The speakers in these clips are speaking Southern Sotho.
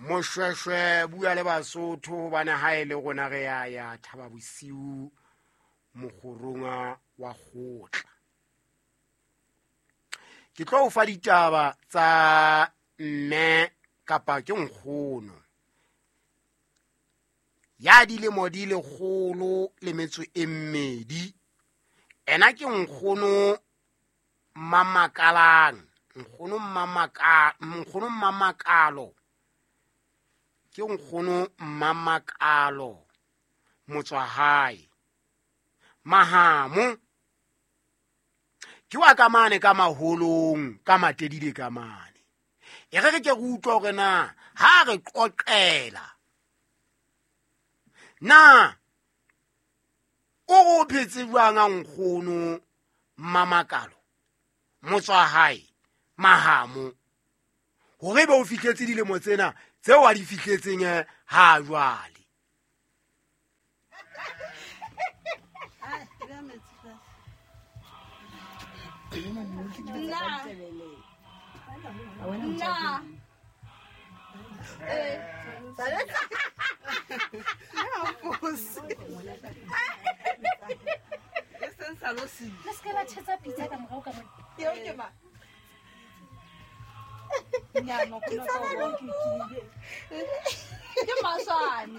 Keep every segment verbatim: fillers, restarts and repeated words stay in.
Moshweshwe bua le Basotho hobane ha e le rona re ya ya Thaba Bosiu mokgorong wa kgotla. Ke tlo o fa ditaba tsa mme kapa ke nkgono ya dilemo di lekgolo le metso e mmedi. Ena ke nkgono Mmamakalang, nkgono Mmamaka, nkgono Mmamakalo. Ke nkgono Mmamakalo motswahae Mahamo. Ke wa ka mane ka maholong ka Matedile ka mane. E re re ke re utlwa hore na ha re qoqela na o re o phetse jwang a nkgono Mmamakalo motswahae Mahamo, hore be o fihletse dilemo tsena tseo a di fihletseng ha jwale. Nna. Nna. Eh. Le se ke la tjhetsa pitsa ka morao ka mona. Eo ke mang? Ke Maswane.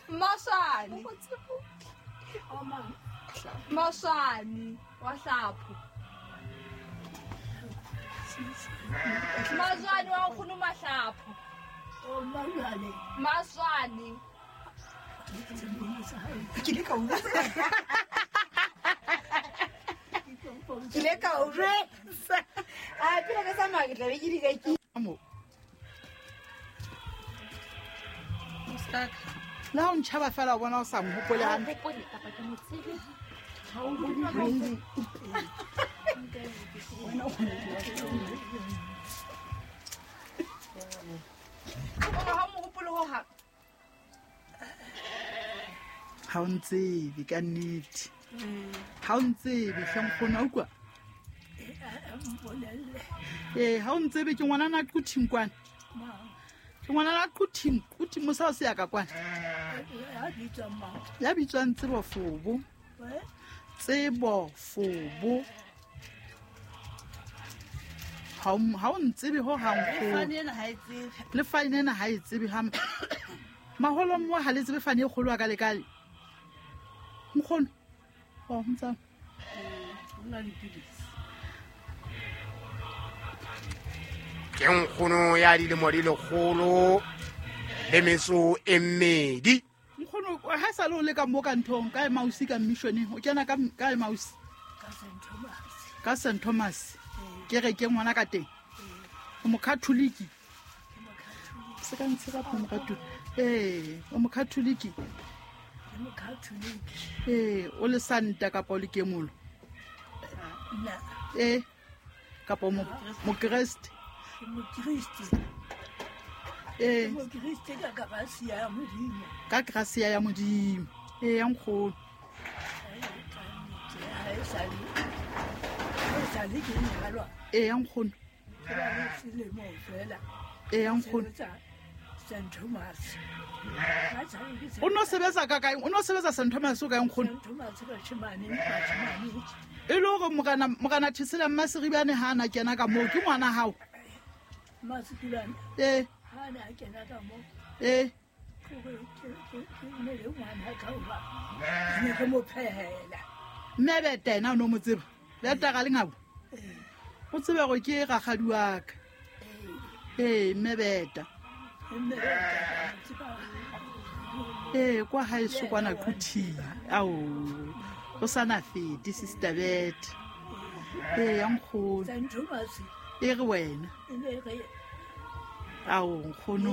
Maswane. Maswane wa hlapho. Maswane wa nkgono Mahlapho. Maswane. Ke ile ka utlwa. Ke ile ka utlwa. A pele ka tsamaya ke tla be ke di ka ke. Le ha o ntjhaba fela o bona o sa mohopole hantle. Kapa ke mo tsebe. Ha o mohopole ho hang. Ha o ntsebe ka nnete. Ha o ntsebe hle nkgono, a utlwa? Ee, ha o ntsebe ke ngwanana a Quthing kwana. Ke ngwanana a Quthing, Quthing mosa o se ya ka kwana. Ya bitswang Tsebo Fobo. Tsebo Fobo. Ha o ha o ntsebe ho hang nkgono. Le fane ena ha e tsebe ha maholong mo ha le tsebe fane e kgolo a ka le kale. Nkgono. Oh, ntsa. Ke nkgono ya dilemo di lekgolo le metso e mmedi. Nkgono ha sa le o le ka mo ka nthong ka Emausi ka missioneng o kena ka ka Emausi ka Saint Thomas. Ke re ke ngwana ka teng. O mokatholiki. Se ka ntse ka mokatholiki. Eh, o mokatholiki. Eh, o le santa kapa o le kemolo? Eh, kapa mo mokreste. Eh, ka gracia ya Modimo. Eh, ya nkgono. Eh, ya nkgono. Eh, ya nkgono. O no sebetsa ka kae? O no sebetsa Saint Thomas o kae nkgono? E le hore morena morena Thesela Mmasiribane ha na kena ka moo ke ngwana hao. Eh. Eh. Mme beta ena o no mo tseba. Beta ga le ngabo. O tsebe gore ke rakgadi wa ka. Eh, mme beta. Eh, kwa haeso kwana Quthing. Ao. O sana fete sister Bet. Eh, ya nkgono. E re wena. Ao nkgono.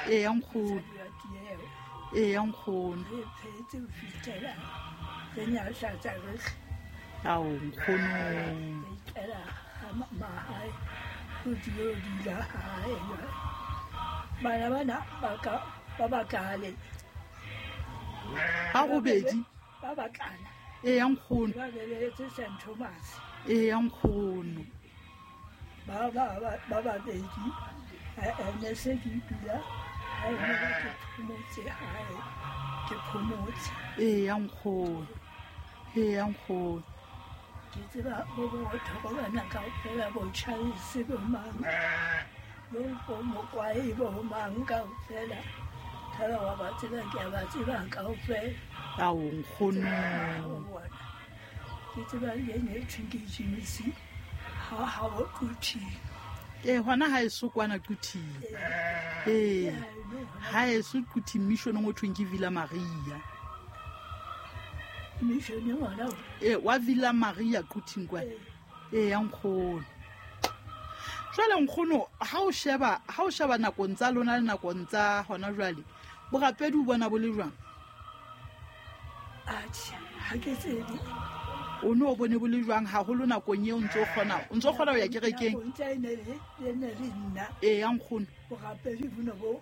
Eh, ya nkgono. Eh, ya nkgono. Ao nkgono. Ba robedi. Ba E ya nkgono. E ya nkgono. Ba ba ba babedi ne se ke dula hae mo ke phomotse hae ke phomotse. Eya nkgono, eya nkgono. Ke tseba bo botho bo bana kaofela bo Charles bo mang bo bo Mokwae bo mang kaofela. Thaba wa ba tseba ke a ba tseba kaofela. Ao nkgono. Ke tseba le ne thweng ke James ha ha bo Quthing. Ee hona ha eso kwana Quthing. Ee ha eso Quthing missioneng o thweng ke Villa Maria. Missioneng hona? Ee wa Villa Maria Quthing kwana. Ee ya nkgono. Jwale nkgono ha o sheba ha o sheba nakong tsa lona le nakong tsa hona jwale borapedi o bona bo le jwang? Atjhe ha ke tsebe. O no bone bo le jwang haholo nakong eo ntso kgona o ntso kgona ho ya kerekeng? Nakong tsa ene le ne le nna. Ee ya nkgono. Borapedi bo ne bo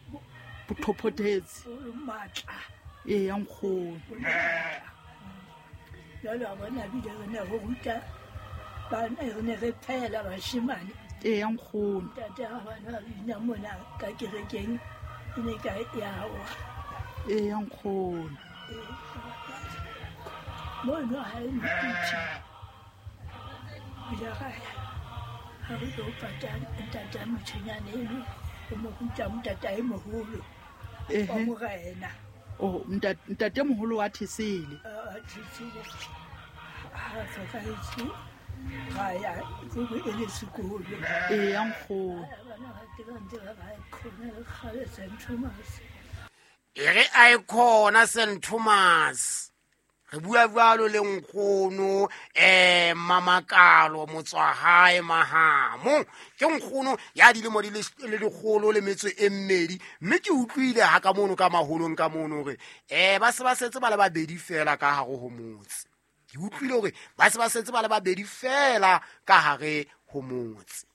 bo thophothetse. Bo matla. Ee ya nkgono. Jwale wa bona bile re ne re ruta bana re ne re phehela bashemane. Ee ya nkgono. Ntate ha bana ba bina mona ka kerekeng e ne ka ya wa. Ee ya nkgono. Mono ha e ntuthe. O ile ra ya ha re tlo pata ntata motjhenyane eno o mo ruta ntatae moholo wa morena. Oh ntate moholo wa Thesele. A Thesele ha hlokahetse ra ya ko e le sekolo. Ee ya nkgono. Bana ba teng ntse ba ba khona le kgale Saint Thomas. E re a e khona Saint Thomas. Re bua jwalo le nkgono eh Mamakalo Motswahae Mahamo. Ke nkgono ya dilemo di le lekgolo le metso e mmedi mme ke utlwile ha ka mono ka maholong ka mono hore eh ba se ba setse ba le babedi fela ka hare ho motse. Ke utlwile hore ba se ba setse ba le babedi fela ka hare ho motse.